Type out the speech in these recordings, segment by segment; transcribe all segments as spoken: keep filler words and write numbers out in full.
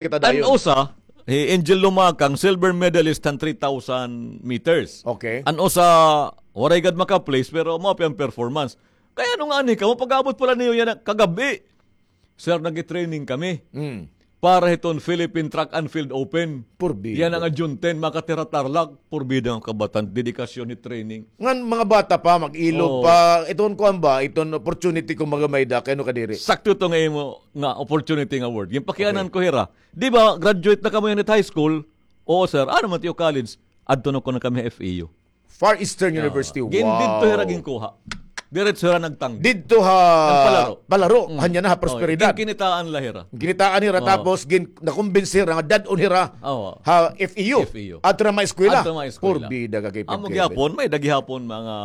kita dayon. An usa, hi Angel Lumakang, silver medalist han three thousand meters. Okay. An usa, waray gad maka-place, pero maupay an performance. Kay ano ngani kamo, pag-abot pa la niyo yana kagab-i, "Sir, nag-training kami." Mm. Para hiton Philippine Track and Field Open. Purbida. Yana nga June ten, makatira Tarlac, purbida nga kabatan, dedikasyon ni training. Ngan mga bata pa, mag-ilog pa, iton kuan ba, iton opportunity kung magamay da, kay ano kadiri. Sakto ito nga imo nga opportunity nga word. Ginpakianan ko hira. Di ba, graduate na kamo yana hit high school? Oo, sir. Ano man it iyo college? Adto na kuno kami ha F E U. Far Eastern University. Wow. Gin-, didto hira ginkuha. Diretso hira nagtanggi. Didto ha palaro. Palaro. Hanya na ha Prosperidad. Gin-, ginitaan la hira. Ginitaan hira, tapos gin-, nakumbinsi hira nga dad-on hira ha F E U. F E U. Adto na maeskwela. Adto maeskwela. Purbida ka kay Pep Kevin. Amo gihapon, may-ada gihapon mga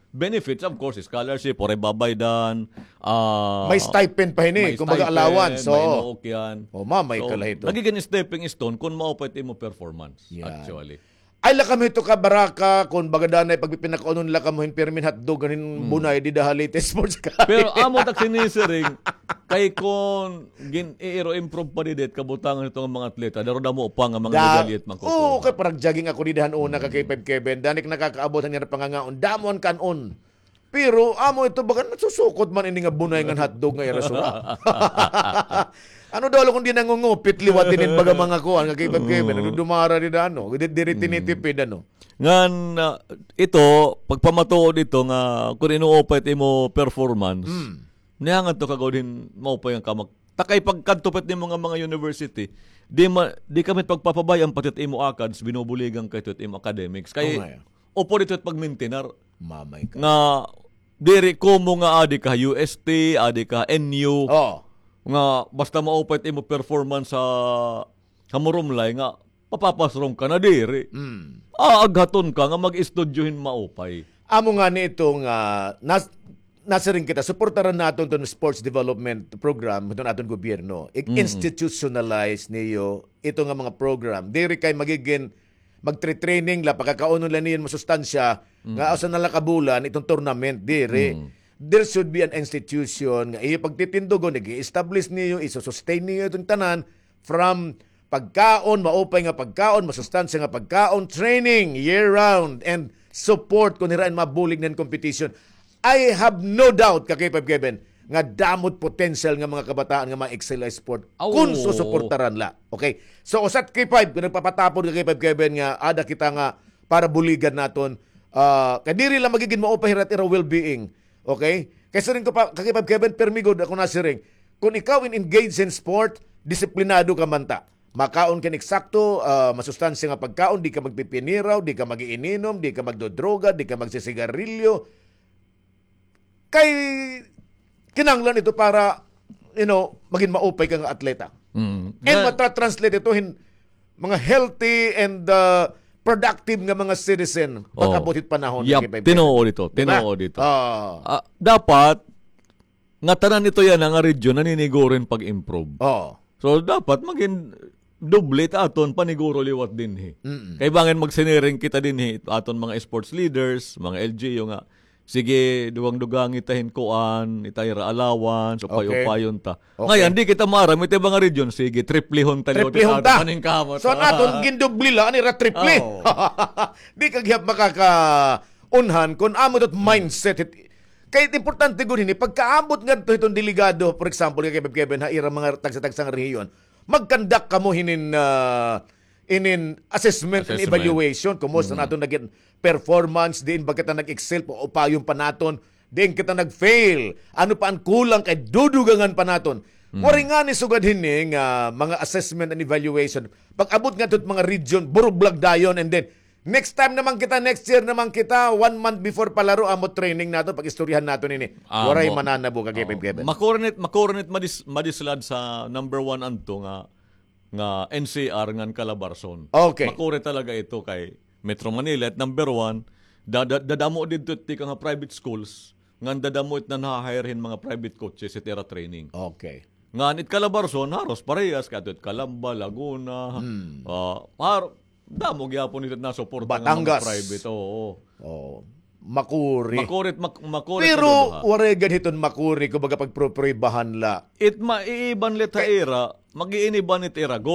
benefits, of course, scholarship, waray babaydan, ah, may stipend pa hini, kumbaga allowance. May stipend, may nook yan. O, mamay ka la hito. So, nagigin stepping stone kung maupay it imo performance, actually. Ay, la kamo hito ka baraka, kon baga danay pagpipinakaunon la kamo hin pirmi hin hotdog, hin bunay, dida ha Leyte Sports College. Pero amo tak sinisiring, kay kon gin-iiro improve pa dida it kabutangan hito nga mga atleta, daro damo pa nga mga medalya it makukuha. Oo, kay parag-jogging ako dida han una ka kay Pep Kevin, dani ak nakakaabot han ira pangangaon, damo an kan-on. Pero amo ito, baga nasusukot man ini nga bunay ngan hotdog nga ira sura. Ano daw la kon di nangungupit liwat inin baga mga kuan nga kay Pep Kevin, nagdudumara dida, ano, di, diri tinitipid, ano. Ngan, ah, ito, pagpamatuod ito nga kon inuupay it imo performance, niyangan to kagawad hin maupay nga kamag-, ta kay pagkadto pa it nimo nga mga university, di ma-, di kami pagpapabay-an pati it imo akads, binubuligan ka hito it imo academics. Kay upod ito it pagmintinar. Mamay ka. Nga diri komo nga adi ka U S T, adi ka N U. Oo. Nga basta maupay it imo performance ha, ha Murumlay nga papapasrong ka na diri. Mm. Aaghaton ka nga mag-estudyo hin maupay. Amo ngani ito nga nas-, nasiring kita, suportaran naton iton sports development program hiton aton gobyerno. I-institutionalize niyo ito nga mga program. Diri kay magigin magtre-training la, pakakaunon la niyo hin masustansya, nga usa na la ka bulan, iton tournament, diri. There should be an institution nga iyo pagtitindugon, ig-establish niyo, iso-sustain niyo iton tanan from pagkaon, maupay nga pagkaon, masustansya nga pagkaon, training year-round, and support kon hira in mabulig na hin competition. I have no doubt, ka K five Kevin, nga damo it potential nga mga kabataan nga ma-excel ha sport kon susuportaran la. Okay? So, usa it K five, kon nagpapatapod ka K five Kevin nga ada kita nga para buligan naton, ah, kay diri la magigin maupay hira it ira well-being. Okay? Kay siring ko pa, ka K five Kevin, permi gud ako nasiring. Kon ikaw in engage in sport, disiplinado ka man ta. Makaon ka hin eksakto, ah, masustansya nga pagkaon, di ka magpipiniraw, di ka mag-iininom, di ka magdodroga, di ka magsisigarilyo. Kay kinahanglan ito para, you know, magin maupay ka nga atleta. Mm. And matra-translate ito hin mga healthy and, uh, productive nga mga citizen pag-abot hit panahon. Yap, tinuod ito, tinuod ito. Ah, dapat nga tanan ito yana nga region naniniguro hin pag-improve. Oo. So, dapat magin doble it aton paniguro liwat dinhi. Mm-mm. Kay bangin magsiniring kita dinhi, aton mga sports leaders, mga L G U nga, sige, dugang-dugangi ta hin kuan, ita ira allowance, upay-upayon ta. Okay. Ngayan, di kita maaram, ita mga region, sige, triplehon ta liwat it aton paningkamot. So, an aton gindoble la, an ira triple. Oo. Di ka gihap makakaunhan kon amo ito it mindset. Kay importante gud hini, pagkaabot ngadto hiton delegado, for example, kay Kevin, ha ira mga tagsa-tagsa nga rehiyon, mag-conduct kamo hinin, ah, inin assessment and evaluation. Kumusta an aton nagin performance, diin ba kita nag-excel, paupayon pa naton, diin kita nag-fail, ano pa an kulang kay dudugangan pa naton. Waray ngani sugad hini nga mga assessment and evaluation. Pag-abot ngadto hit mga region, burublag dayon, and then, next time naman kita, next year naman kita, one month before palaro, amo training naton, pag-istoryahan naton ini. Waray mananabo, ka Kevin. Makuri nit, makuri nit madis-, madislad sa number one anto nga, nga N C R ngan Calabarzon. Okay. Makuri talaga ito kay Metro Manila, it number one, da-, da-, dadamo didto it tikang ha private schools, ngan dadamo it nanha-hire hin mga private coaches it ira training. Okay. Ngan it Calabarzon, haros parehas, kay adto it Calamba, Laguna, ah, har-, damo gihapon ito nasuporta nga mga private, oo. Oo. Makuri. Makuri it, mak-, makuri it duduha. Pero waray gad hiton makuri, kumbaga pagprupribahan la. It maiiban la it ha ira, Mag-iinib an it ira gol.